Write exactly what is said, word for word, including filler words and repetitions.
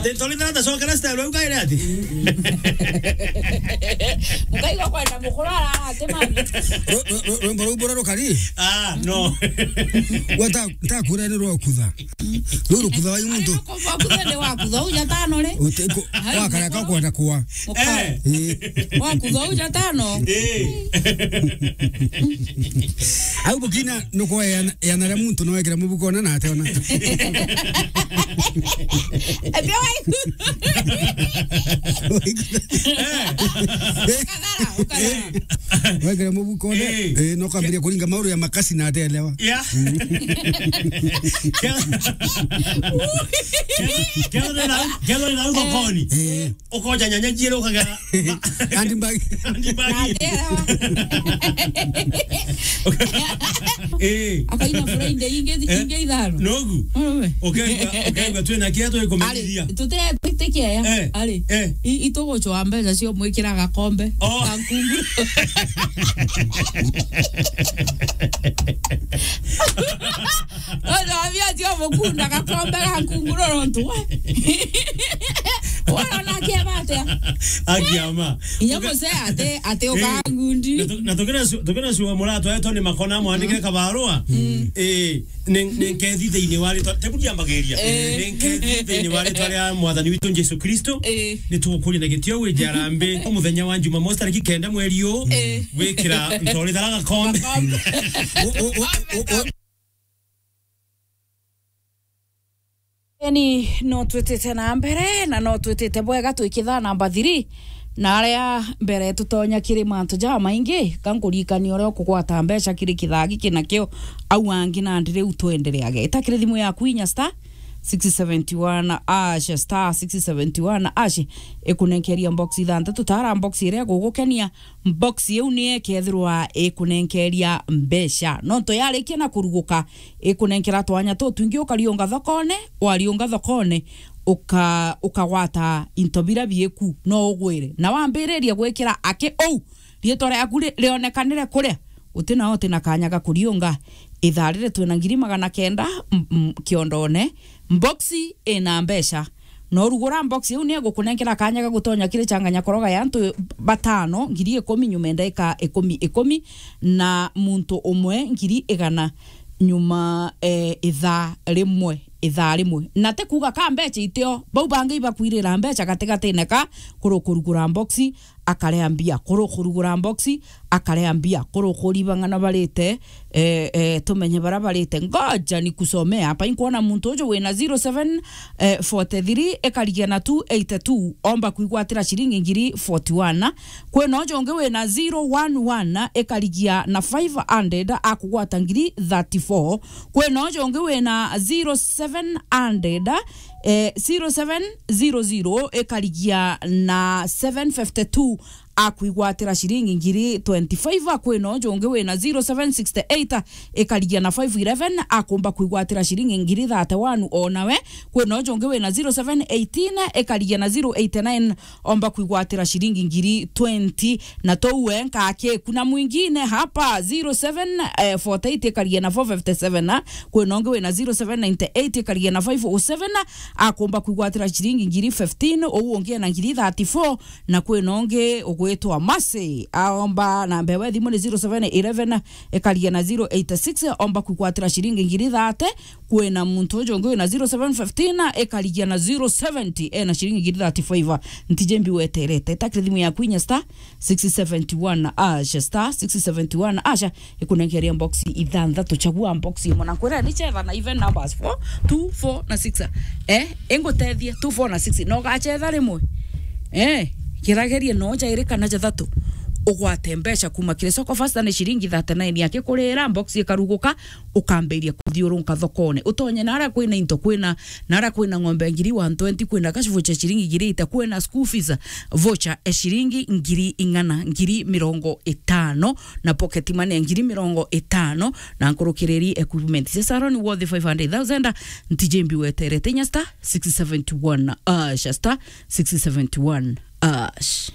Te-, tuli thata cokera style, uga ire ati? Mukaigua kwenda mukuru ara ati mami. Ru-, ru-, ru-, rwimbo ruu bura rukari? Ah, no. Gwa ta, ta kura ni rwa kutha. Ruru kutha wa muntu. Ari, rukutha ni wa kutha, uja tano ri? Uti-, ku-, ai, wakara ka kwenda kwa. Muka-, eh. Eh. Wa kutha uja tano. Eh. Au bukina nuko yana, yana ria muntu no wekira mubuko na na ate ona. Ebio waiku. Eh. Ukagara, ukagara. Wekira mubuko na, eh, eh, no kambiria kuringa mauru ya makasi na ate elewa. Yeah. Mm. Kero, kero, kero na, kero na uko koni. Eh. Ukoja nyanya ciere ukagera. Handbag. Handbag. Na ndera. Eh. Akaina Friday ingi, eh? Ingi ithano. Nogu. Wewe. Ukaigua, ukaigua twina kia twikumenyithia. Ari, tutire twitikia ya. Eh. Ari. Eh. I-, itugucwa mbeca cio mwikira gakombe. Oh. Ga nkungu. Ondo abia tio mukunda gakombe ga nkunguro rontu we. Wona na kia batia. Akiama. Inya. Uka- musea ate, ate, eh, ukangundi. Na tu-, na tukira su-, tukira sua muratwa eto ni makona mwandike kabarua. Mm. Eh, nen-, nenkethi thiini wa ritwa, tebu ndiambagiria. Eh. Nenkethi thiini wa ritwa ria Mwathani witu Jesu Kristo. Eh. Ni tugukuria na gitio wi jarambe. Muthenya wa Jumamosi tariki kenda mweri uu. Eh. Gwikira ntori thara gakombe. Gakombe. O, o, o, o, o. Eni, no twitite na mbere, na no twitite bwega twikithaa namba three, na aria mbere tutonya kiri mantu jamaingi, ka nkuririkania uria ukugwata mbeca kiri kithaa giki nakio au angi nandi riu twendereage. Ita kiri thimu yaku inya star six seventy one hash, star six seventy one hash, ikunenkeria box ithanthatu, tara box iria igugukenia, box iu ni ikethirwa ikunenkeria mbeca. Nontu yarikia na kuruguka, ikunenkera twanya tutwingi, ukariunga thokone, wariunga thokone, uka-, ukagwata into biria bieku, no ugwire. Na wambiriria gwikira aki uu, riitwa riaku ri-, rionekanire kuria, uti na, uti na kanya ga kuriunga. Ithaa riri twina ngiri magana kenda, m-, m-, kiondone, box ina mbeca. No rugura box iu ni igukunenkera kanya ga gutonya kiri changanya koroga ya antu batano, ngiri ikumi nyuma ya ndaika ikumi, ikumi, na muntu umwe ngiri igana nyuma, eh, ithaa rimwe, ithaa rimwe. Na ti kuuga ka mbeca itio, bau bangi ibakwirira mbeca gatigatine ka kuru kurugura box, akarea mbia, kuru kurugura box, akarea mbia, kuru kuribang'ana barite, eh, eh, tumenye bara barite. Ngoja nikusomea hapa. Inkuona muntu uju wina zero seven, eh, forty three ikarigia na two eighty two, omba kwigwatira ciringi ngiri forty one. Kwina uju ungi wina zero one one ikarigia na five hundred, akugwata ngiri thirty four. Kwina uju ungi wina zero seven hundred, eh, zero seven zero zero ikarigia na seven fifty two, akwigwatira ciringi ngiri twenty five. Kwina uju ungi wina zero seven sixty eight ikarigia na five eleven, akumba kwigwatira ciringi ngiri thirty one o nawe. Kwina uju ungi wina zero seven eighteen ikarigia na zero eighty nine, omba kwigwatira ciringi ngiri twenty. Na tou wenka akiku na mwingine hapa, zero seven forty eight ikarigia na four fifty seven, kwina ungi wina zero seven ninety eight ikarigia na five oh seven, akumba kwigwatira ciringi ngiri fifteen, uu ungi ena ngiri thirty four, na kwina ungi ugwitwa Mercy, aomba namba ewe thimu ni zero seven eleven ikarigia na zero eight six, omba kwigwatira ciringi ngiri thirty. Kwina muntu uju ungi wina zero seven fifteen ikarigia na zero seventy, ena ciringi ngiri thirty five. Ntiji mbi weterete, takire thimu yaku inya star six seventy one hash, star six seventy one hash, ikunenkeria box ithanthatu, chagua box imwe, na nkwira ni chetha na even numbers four, two, four na six. Eh, ingutethie two, four na six, na ugachetha rimwe. Eh, kiragerie no jairi kana jathatu, ugwate mbeca kuma kiri soko fasta ni ciringi thirty nine yake kurira box ikaruguka, ukambiria kuthiurunka thokone. Utonye naria kwina into, kwina, naria kwina ng'ombe ngiri one twenty, kwina cash voucher ciringi ngiri ita, kwina school fees voucher e ciringi ngiri ing'ana, ngiri mirongo itano, na pocket money ya ngiri mirongo itano, na nkurukiriri equipment cia salon worth five hundred thousand. Ntiji mbi weterete inya star six seventy one hash, star six seventy one hash.